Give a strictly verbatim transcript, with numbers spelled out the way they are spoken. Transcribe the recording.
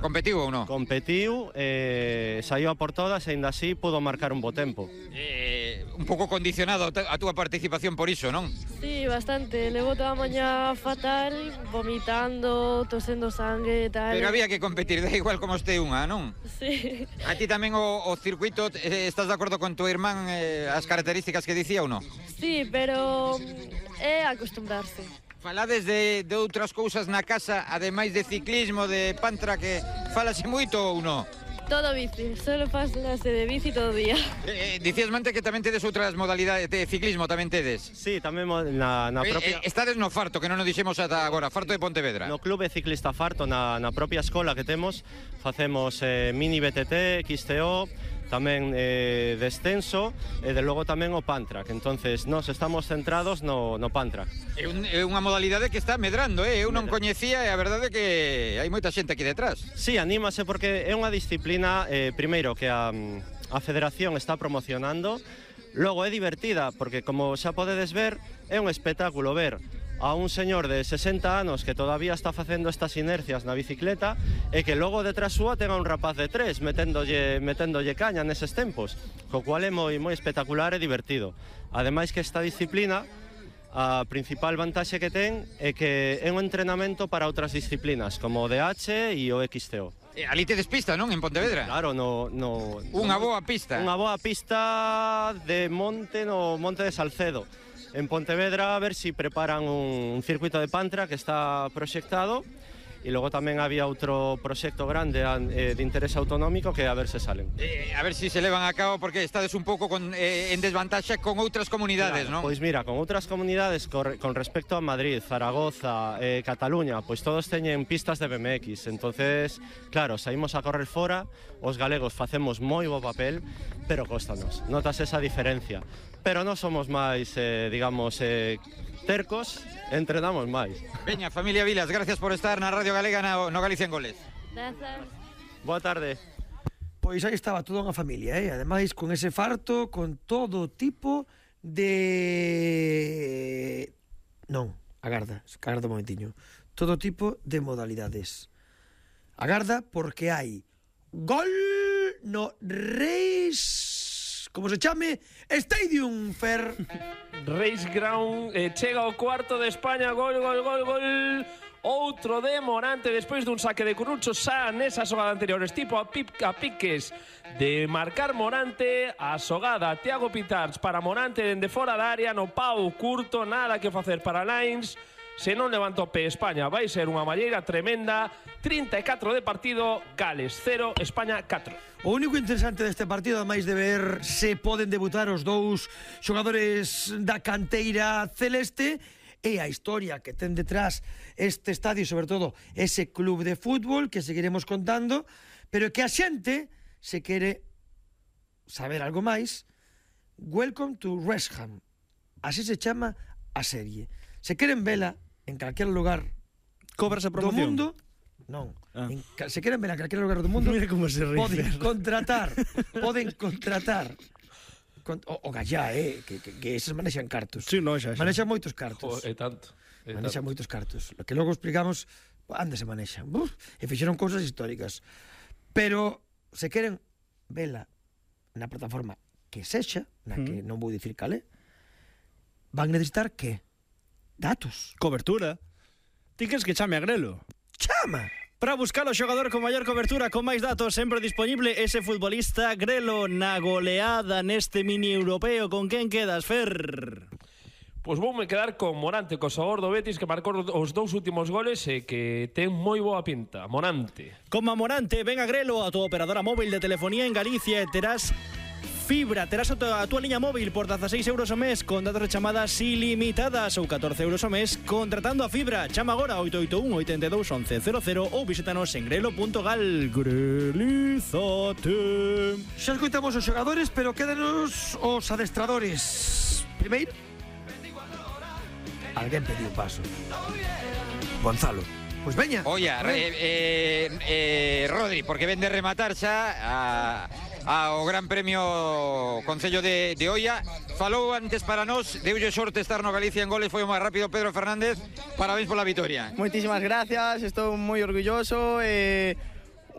Competiu ou non? Competiu, eh, saiu a por todas e ainda así pudo marcar un bo tempo. Eh, un pouco condicionado a túa participación por iso, non? Sí, bastante. Levo toda a mañá fatal, vomitando, tosendo sangue e tal. Pero había que competir, da igual como este unha, non? Sí. A ti tamén o, o circuito, eh, estás de acordo con tu irmán eh, as características que dicía ou non? Sí, pero é acostumbrarse. Falades de, de outras cousas na casa, ademais de ciclismo, de pantra, que falase moito ou non? Todo bici, solo falase de bici todo o día. Eh, dicías, Mante, que tamén tedes outras modalidades de ciclismo, tamén tedes? Sí, tamén na, na propia... Eh, estades no Farto, que non nos dixemos ata agora, Farto de Pontevedra. No Clube Ciclista Farto, na, na propia escola que temos, facemos eh, mini B T T, X T O, tamén eh, descenso e de logo tamén o Pantrack. Entonces, nós estamos centrados no, no Pantrack. É, un, é unha modalidade que está medrando, eh? Eu non coñecía e a verdade é que hai moita xente aquí detrás. Sí, anímase porque é unha disciplina, eh, primeiro, que a, a Federación está promocionando, logo é divertida, porque como xa podedes ver, é un espectáculo ver a un señor de sesenta anos que todavía está facendo estas inercias na bicicleta e que logo detrás súa tenga un rapaz de tres meténdolle, meténdolle caña neses tempos, co cual é moi, moi espectacular e divertido. Ademais que esta disciplina, a principal vantaxe que ten é que é un entrenamento para outras disciplinas, como o D H e o X T O. Eh, ali tedes pista, non? En Pontevedra? Claro, no, no, Unha no, boa pista. Unha boa pista de monte no Monte de Salcedo. En Pontevedra a ver si preparan un, un circuito de Pantra que está proxectado e logo tamén había outro proxecto grande eh, de interés autonómico que a ver se salen. Eh, a ver si se levan a cabo porque estades un pouco con, eh, en desvantaxe con outras comunidades, claro, non? Pois mira, con outras comunidades con, con respecto a Madrid, Zaragoza, eh, Cataluña, pois todos teñen pistas de B M X. Entonces, claro, saímos a correr fora, os galegos facemos moi bo papel, pero costanos, notas esa diferencia. Pero non somos máis, eh, digamos, eh, tercos, entrenamos máis. Veña, familia Vilas, gracias por estar na Radio Galega no, no Galicia en Goles. Grazas. Boa tarde. Pois aí estaba toda unha familia, eh? Ademais, con ese farto, con todo tipo de... Non, agarda, agarda un momentiño. Todo tipo de modalidades. Agarda porque hai gol no Reis... como se chame, Stadium Fair. Race Ground, eh, chega ao cuarto de España, gol, gol, gol, gol. Outro de Morante despois dun saque de Currucho xa nesa xogada anterior. Estipo a, pip, a piques de marcar Morante. A xogada Thiago Pitarch para Morante dende fora da área, no pau curto, nada que facer para Lines. Se non levanta o pé España vai ser unha malleira tremenda. Trinta e catro de partido, Gales cero, España catro. O único interesante deste partido, ademais de ver se poden debutar os dous xogadores da canteira celeste, é a historia que ten detrás este estadio, sobre todo ese club de fútbol que seguiremos contando, pero que a xente se quere saber algo máis. Welcome to Wrexham, así se chama a serie. Se queren vela en calquer lugar cobras a promoción do mundo, non, ah. en, se queren vela en calquer lugar do mundo, mira como se ríe, poden contratar, poden contratar con, o, o gallá, eh, que, que, que eses manexan cartos. Sí, no, xa, xa. Manexan moitos cartos. É tanto. É manexan tanto. moitos cartos. Lo que logo explicamos, ande se manexan. Uf, e fixeron cousas históricas. Pero se queren vela na plataforma que sexa, na que non vou dicir calé, van necesitar que datos. Cobertura. Ti queres que chame a Grelo? Chama! Para buscar o xogador con maior cobertura, con máis datos, sempre disponible ese futbolista Grelo na goleada neste mini europeo. Con quen quedas, Fer? Pois voume quedar con Morante, co xogador do Betis que marcou os dous últimos goles e que ten moi boa pinta. Morante. Como Morante, ven a Grelo, a tua operadora móvil de telefonía en Galicia, e terás fibra, terás a tua, a tua liña móvil por dezaseis euros ao mes con datos de chamadas ilimitadas ou catorce euros ao mes contratando a fibra. Chama agora oito oito un, oito dos, once cero cero ou visítanos en grelo punto gal. Grelizate. Xa escoitamos os xogadores, pero quédanos os adestradores. Primeiro, alguén pediu paso. Gonzalo. Pois veña. Oia, eh, eh, eh, Rodri, porque ven de rematar xa a... ao Gran Premio Concello de, de Oia. Falou antes para nós, deulle sorte estar no Galicia en Goles, foi o máis rápido Pedro Fernández. Parabéns pola vitoria. Moitísimas gracias, estou moi orgulloso e